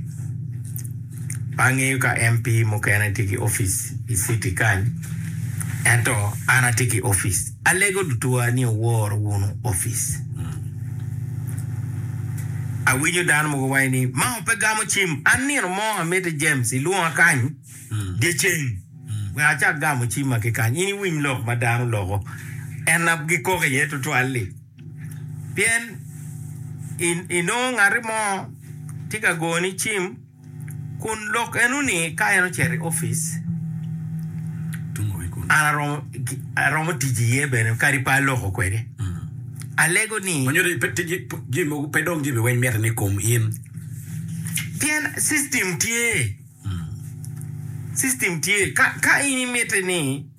Pe angeyo ka M P mukene tye ki opic i city kany ento an atye ki opic. Alego lutuwa ni owor wunu opic. Awinyo dano mogo waco ni mao pe gamo cim. An nino mo amiti James ilwonga kany dyeceng wek acak gamo cimma ki kany. In iwiny lok ma dano loko en na gikoko iye tutwal-li. Pien inongo ngati mo tye ka goni cim kun lok eno-ni ka en ocito i opic an aromo tic iye bene kadi pe aloko kwede. Alego ni pe dong jami weng mitte ni kom in. Pien system tye, system tye ka in imiti ni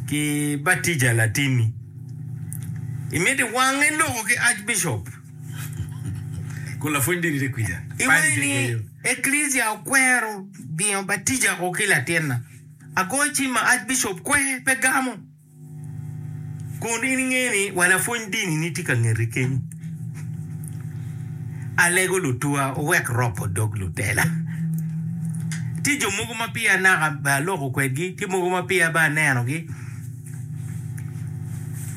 ki batija latinni imiti wange loko ki archbishop kun lapwony dini tye kwica iwaci ni eklisia okwero miyo batija ko ki latinna agoyo cim ma archbishop kwe pe gamo kun in inge ni wa lapwony dini ni tye ka ngeti kenyo. Alego lutuwa owek ropo dog lutela. Tye jo mogo ma peya naka be aloko kwedgi, tye mogo ma peya be anenogi.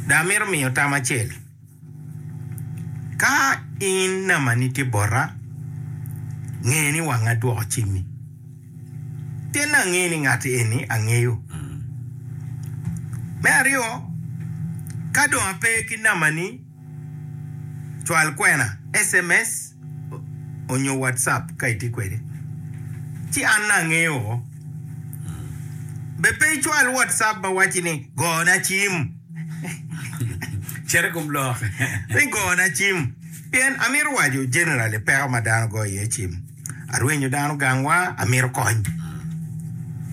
Dong amito miyo tam acel. Ka in namani tye bota, nge ni wanga dwoko cimmi. Pien angeyo ni ngat eni angeyo. Me aryo, ka dong ape ki namani, cwal kwena, S M S onyo WhatsApp ka itye kwede, ci an nongo angeyo woko. Be pe icwal WhatsApp ma wacci ni gona cim. Cit i kom lok. Ni gona cim. Pien amito waco generally peko ma dano goyo iye cim. Arwenyo dano gangwa, amito kony.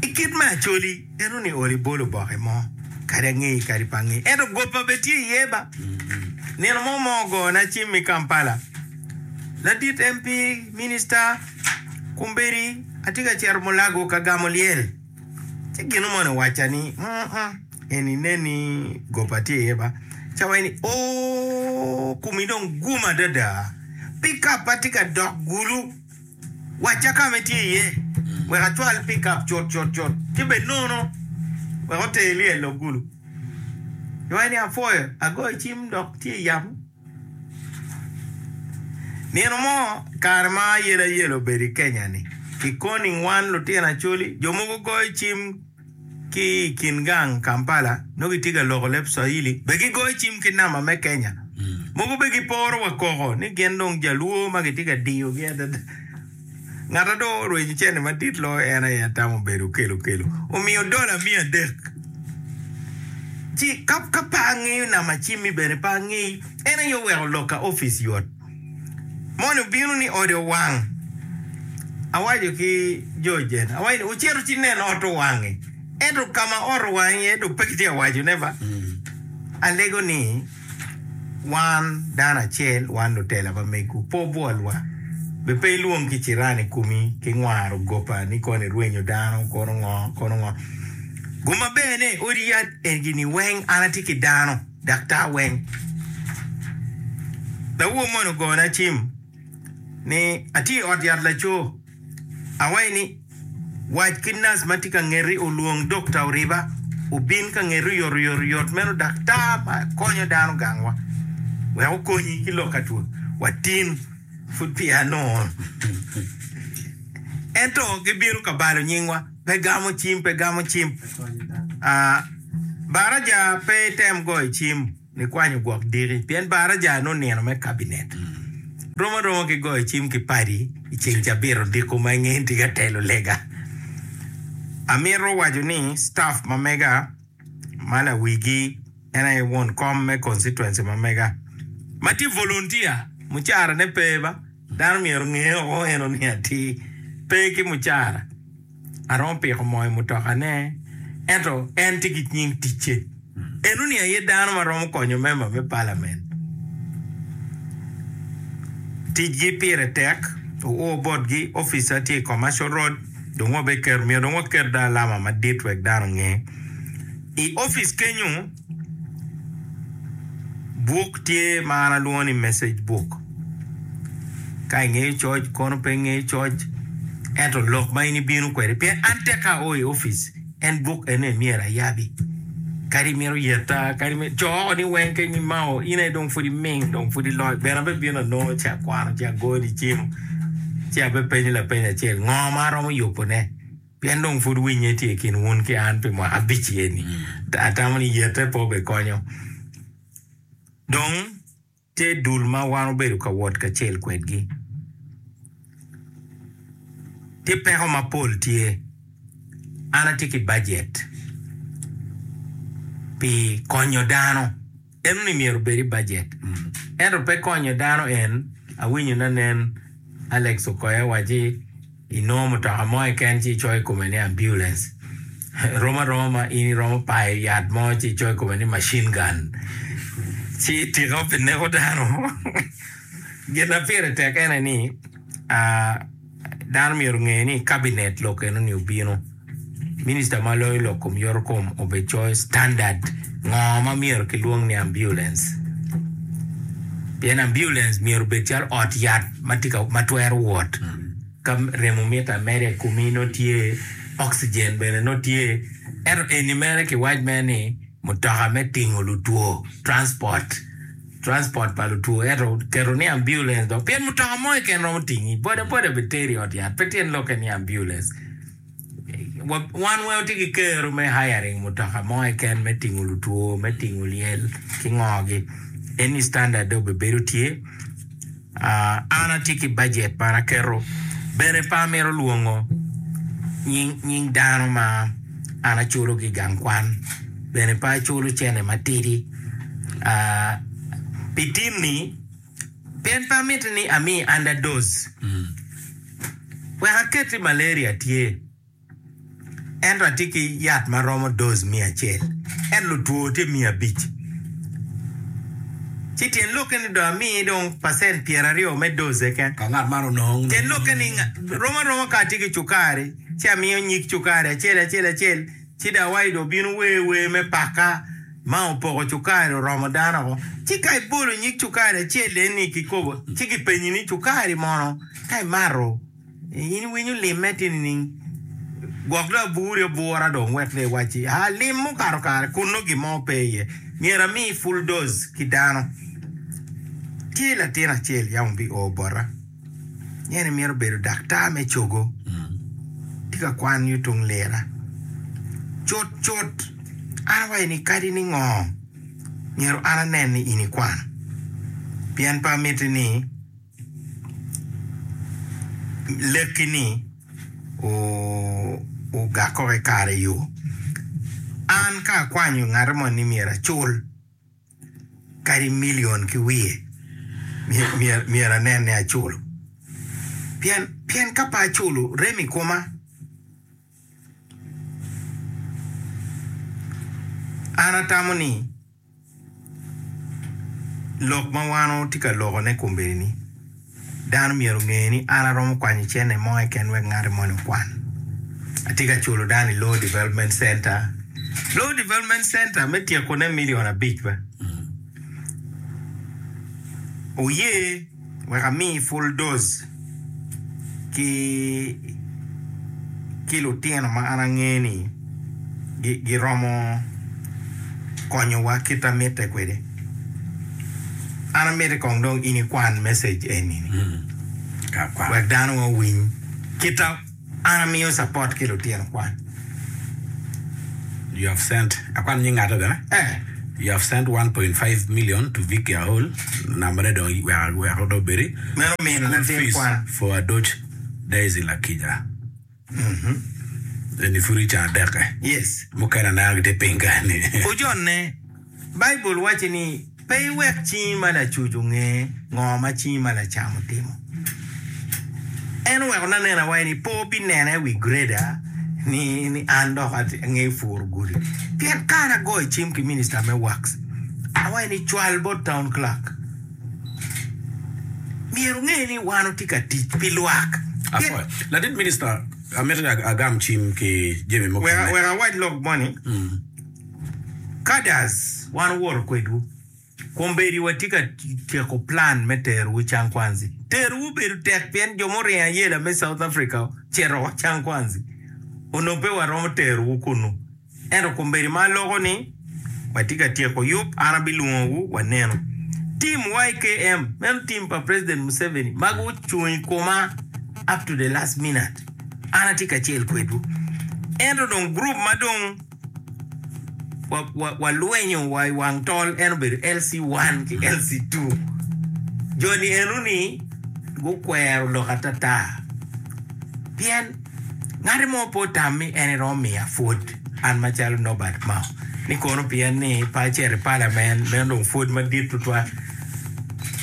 I kit me Acholi, eno ni olo ibolo oboke mo, kadi angeyi kadi pe angeyi. Ento gopa bene tye iye ba. Nino mo mo ogona cim i Kampala. Ladit M P, Minista, kombeddi atye ka cito Mulago ka gamo lyel. Ci gino moni owacca ni, mm, eni nen ni gopa tye iye ba. Ci awaco ni, oo, komi dong gum adada. Pikap atye ka dok gulu. Wacca ka ma itye iye wek acwal pikap cut cut cut ci bed nono wek oter lyel dok gulu. Iwaco ni apwoyo, agoyo cim dok tye i yamo. Nino mo kare ma ayelayela obedo i Kenya-ni, kikoning wan lutino Acholi, jo mogo goyo cim ki i kin gang Kampala nongo gitye ka loko leb Swahili be gigoyo cim ki namba me Kenya. Mogo be giporo wa koko ni gin dong jaluo ma gitye ka diyogi adada. Ngat a dong orwenyo cente madit loyo en aye atamo obedo Okello Okello omiyo dola miya adek. Ci ka ka pe angeyo namba cimmi bene pe angeyi en aye oweko lok ka opic yot. Moni obino ni ode owang. Awaco ki jo jen, awaco ni wucito ci nen ot owangi. Ento ka ma ot owang iye dong pe kitye ka wacone ba. Alego ni wan dano acel, wan lutela pa megwu, pe wubwolwa. Be pe ilwong ki ciran i komi ki ngwaro gopa ni kono irwenyo dano, kono ngo, kono ngo. Gum maber ni odi yat egi-ni weng an atye ki dano. Daktar weng. Lawor moni ogona cim ni atye i ot yat laco. Awaco ni Wac ki nac ma tye ka ngeti olwong Dokta Oriba obin ka ngeti oyotoyot meno daktar ma konyo dano gangwa wek okonyi ki lok ka two. Watin pud peya anongo. Ento gibino ka balo nyingwa, pe gamo cim, pe gamo cim. Ah, baraja pe item goyo cim nikwanyo gwok diki pien baraja nongo nino me kabinet. Rom aroma ki goyo cim ki padi i ceng cabit odiko ma inge tye ka telo lega. Amito waco ni staff ma mega ma lawigi en aye won kom me constituency ma mega ma tye volunteer mucara ne pe ba dano myero onge oko eno ni atir pe ki mucara aromo piko moo i mutoka ne ento en tye ki nying ticce eno ni aye dano ma romo konyo member me parliament ticgi pire tek oo botgi officer tye i commercial road dong wabiketo myero dong waket do alama madit wek dano onge i office kenyo buk tye ma an alwongo ni message book ka ingeyo coc kono pe ingeyo coc ento lok ma in ibino kwede pien an tek ka ao i office en buk ene myero ayabi kadi imito yeta kadi imito co oko ni weng keny imao in aye dong pud iming dong pud iloyo bene abebino anongo ci akwano ci agoni cim ci abepenyo lapeny acel ngo ma aromo yubone pien dong pud winye tye i kin wun ki an pi mwaka abic eni atamo ni yete pe obekonyo dong tye dul ma wan obedo ka wot kacel kwedgi tye peko mapol tye an atye ki bajet pi konyo dano eno ni myero obed i bajet ento pe konyo dano en awinyo nanen Alex Okoya waci inongo mutoka mo keken ci icoyo i kome ni ambulance rom aroma ma in iromo payo yat mo ci icoyo i kome ni machine gun ci tika pi neko dano gin ma pire tek ene ni ah, dano myero onge ni cabinet lok eno ni obino minista ma loyo lok kom yoto kom obecoyo standard ngo ma myero kilwong ni ambulance pien ambulance myero obed calo ot yat ma tye ka ma twero wot ka remo mito ameda i komi nongo tye oxygen bene nongo tye ento eni mere kiwac mere ni mutoka me tingo lutwo transport transport pa lutwo ento keto ni ambulance dok pien mutoka mo keken romo tingi boda boda bene teri i ot yat pe tyen lokke ni ambulance Wa- wan weng watye ki kero me hiring mutoka mo keken me tingo lutwo me tingo lyel ki ngogi eni standard dong obebedo tye Ah, an atye ki bajet ma an aketo bene pe amito lwongo nying, nying dano ma an aculo ki i gang kwan bene pe aculo cene matidi Ah, pi tin-ni pien pe amiti ni ami underdose wek aket ni malaria tye ento atye ki yat ma romo dose miya acel ento lutwo tye miya abic ci tyen lokke ni dong ami dong pacent pyeraryo me dose keken Ka ngat man onongo tyen lokke ni nga- rom aroma ka atye ki cukari ci amiyo nyig cukari acel acel acel ci dong awaco dong obino wer wer me paka ma opoko cukari oromo dano oko ci ka ibolo nyig cukari acel eni kikopo ci kipenyi ni cukari mono ka imato in iwinyo limme tye nining gwok dong aburi abura dong wek dong iwacci a lim mukato kare kun nongo gin mo pe iye myero ami full dose ki dano tye latin acel yam obi o bota en mito bedo daktar me cogo tye ka kwan yo tung lira cut cut an awaco ni kadi ni ngo myero an anen ni in ikwano pien pe amiti ni lekki ni ogak oko i kare yo an ka akwanyo ngat mo ni myero acul kadi million ki wiye myero myero anen ni aculo pien pien ka pe aculo rem i koma an atamo ni lok ma wan watye ka lokone kombeddi-ni dano myero onge ni an aromo kwanyo cente mo keken wek ngat moni okwan atye ka culo dano i Law Development Center Law Development Center me tyekone million abic ba oye wek ami full dose ki Ki lutino ma an ange ni giromo konyowa kit ma mitte kwede. An amiti kong dong in ikwan message eni-ni wek dano owiny kit ma an amiyo support ki lutino kwan. You have sent, akwan nying ngato bene? Eh. You have sent one point five million to Vicky Aol, nambane dong wek wek dong obedi. Meno min School latin fees kwan. for Adoch Daisy Lakija. Eni pud i can adek-ke. Yes. Mukene aneno gitye piny kany-ni. Ojonne, Baibul waco ni, Pe iwek cingi ma lacuc onge ngo ma cingi ma lacam otimo. En oweko nanena awaco ni pe obinena i wi greda ni ni an dok angeyo puro gudi. Pien ka an agoyo cim ki minista me Works, awaco ni cwal bot town clerk. Myero onge ni wan watye ka tic pi lwak. Apwoyo. Ladit minista, amito ni agam cim ki jami mukene. Wek awac lok moni, Cadres, wan owoto kwedwu. Kombeddi watye ka tyeko plan me terowu Cangkwanzi. Terowu obedo tek pien jo muringo ayela me South Africa ocito wa Cangkwanzi. Onongo pe waromo terowu kunnu. Ento kombeddi ma aloko ni watye ka tyeko yub, an abilwongowu wanenu. Team Y K M, meno team pa President Museveni ma gucung i koma up to the last minute. An atye kacel kwedwu. Ento dong group ma dong walwenyo wa i wang tol en obedo L C one ki L C two. Jo-ni eno-ni gukwero lok atata pien ngati mo pe otam ni en eromo miya pwod an macalo Norbert Mao ni kono pien ni pe acito i palament meno dong pwod madit tutwal.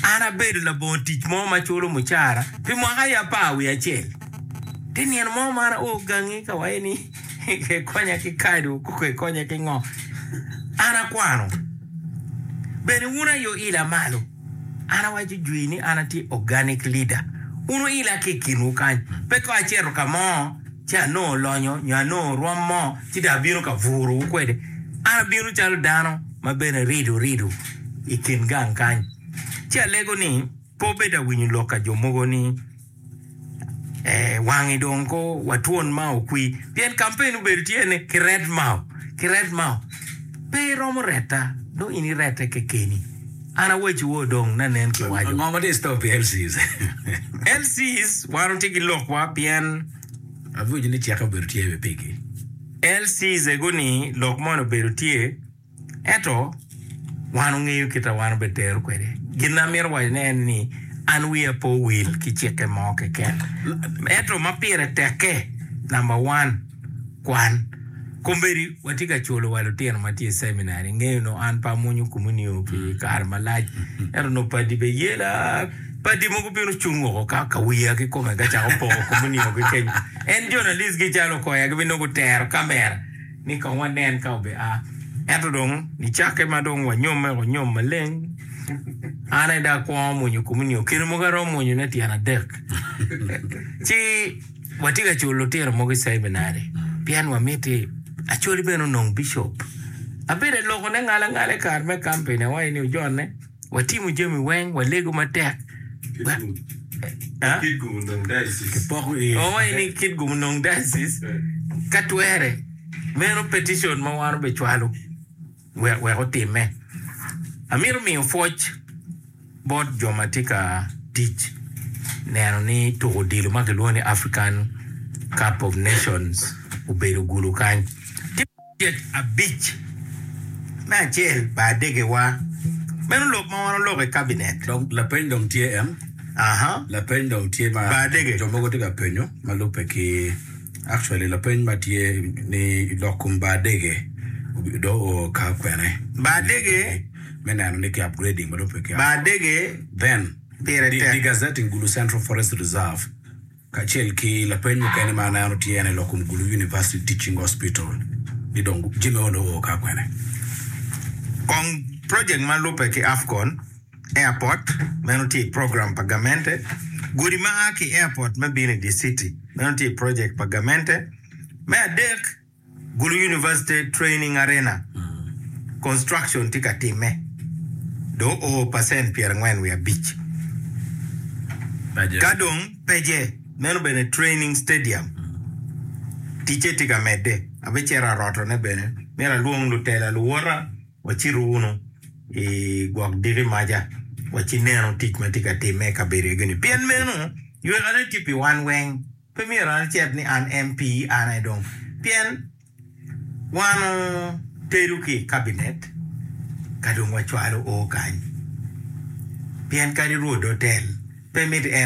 An abedo labongo tic mo ma culo mucara pi mwaka aye apar wiye acel. Te nino mo ma an ao gangi ka waye ni Kikonya ki kado, kikonya ki ngo. An akwano. Bene wun aye wuila malo. An awaco jwi ni an atye organic leader. Wun wuila ki i kinwu kany. Pe ka acito ka mo ci anongo lonyo nyo anongo rwom mo ci dong abino ka burowu kwede. An abino calo dano ma bene rido rido i kin gang kany. Ci alego ni pe wubed awinyo lok ka jo mogo ni Eh, wangi dong ko watwon mao kwi pien kampen obedo tye ni ki ret mao ki ret mao pe iromo reta dong in irete kekeni an awaci wo dong nanen ki waco Ngo ma tye i store pi L Cs? L Cs wan watye ki lokwa pien Awinjo ni ceke obedo tye i pigi. L Cs ego ni lok moni obedo tye Ento wan ongeyo kit a wan obetero kwede. Gin ma amito wacone en ni, an wiya pe owil ki cikke mo keken. Ento ma pire tekke, namba one, kwan. Kombeddi watye ka culo wa lutino ma tye i ceminari. Ingeyo nongo an pe amwonyo komunio pi kare malac, ento nongo padi bene yela. Padi mogo bino cung woko ka ka wiya kikome ka cako poko komunio ki kenyo. En journalist gi calo okoya gibinongo gutero kamera. Ni kong wanen ka obia. Ento dong nicakke ma dong wanyomme woko nyom maleng, an aye dong akwongo mwonyo komunio, kine mogo aromo mwonyone tyen adek. Ci watye ka culo lutino mogo i ceminari pien wamiti Acholi bene onong bicop. Abedo alokone ngala ngala i kare me kampen awaco ni ojonne. Watimo jami weng, walego matek. Owaco ni Kitgum onong diocese ka twere. Meno petition ma wan obecwalo wek otimme. Amito miyo pwoc bot jo ma tye ka tic neno ni tuko odilo ma kilwongo ni African Cup of Nations obedo gulu kany. Tyek abic me acel pa adegewa. Meno lok ma wan oloko i kabinet. Dong lapeny dong tye en. Aha. Lapeny dong tye ma Ba adege. jo mogo tye ka penyo ma lubbe ki actually lapeny ma tye ni lok kom ba adege dong oo ka kwene. Ba adege. Me neno ni ki upgrading ma lubbe ki. Ba adege Then pire tek. degazetting Gulu Central Forest Reserve. Kacel ki lapeny mukene ma aneno tye en aye lok kom Gulu University Teaching Hospital ni dong jami moni oo ka kwene. Kong project ma lubbe ki Afcon Airport meno tye i program pa gamente, gudi ma a ki i airport me bino i dye city meno tye i project pa gamente. Me adek, Gulu University Training Arena construction tye ka timme dong oo pacent pyerangwen wiye abic. Ka dong peje meno bene training stadium Ticce tye ka medde. Abicito arotone bene. Myero alwong lutela luwota wacitu wunu i gwok diki maca wacinenu tic ma tye ka timme i kabedo egi-ni. Pien meno ywekane tye pi wan weng. Pe myero an acit ni an MP an aye dong. Pien wan otedo ki i kabinet ka dong wacwalo o kany. Pien kadi rwod otel pe miti en